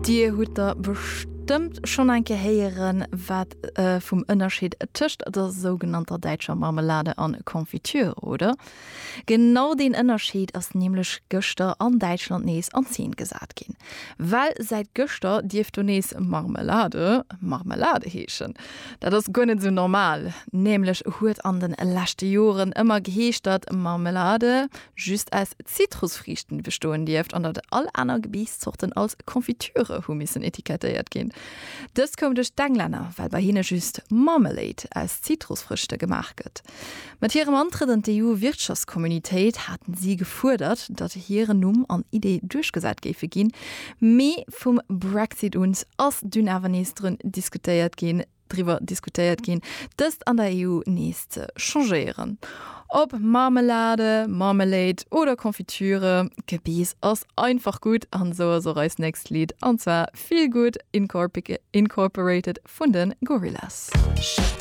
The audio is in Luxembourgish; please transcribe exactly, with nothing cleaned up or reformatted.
Dir hutt der bestëmmt schonn eng Kéier héieren, wat äh, vum Ënnerscheed tëscht der sougenannter däitscher Marmelade an Konfitüre, oder? Genau deen Ënnerscheed ass nämlech gëschter an Däitschland nees an Zeen gesat ginn. Well säit gëschter dierf do nees Marmelade Marmelade heeschen. Dat ass guer net sou normal. Nämlech huet an de leschte Joren ëmmer geheescht, datt Marmelade just aus Zitrusfriichten bestoen dierft an datt all aner Gebeesszorten als Konfitüre hu missen etikettéiert ginn. Dëst koum duerch d'Englänner, well bei hinne just Marmalade aus Zitrusfrüchte gemaach gëtt. Mat hirem Antrëtt an d'EU-Wirtschaftskommunitéit haten si gefuerdert, datt hiren Numm an Idee duerchgesat géife ginn, mee vum Brexit un ass dunn awer nees drun diskutéiert ginn, driwwer diskutéiert ginn, dëst an der EU nees ze changéieren. Ob Marmelade, Marmalade oder Konfitüre, Gebeess ass einfach gutt an sou ass och eist nächst Lidd an zwar Feel Good Incorporated vun de Gorillaz.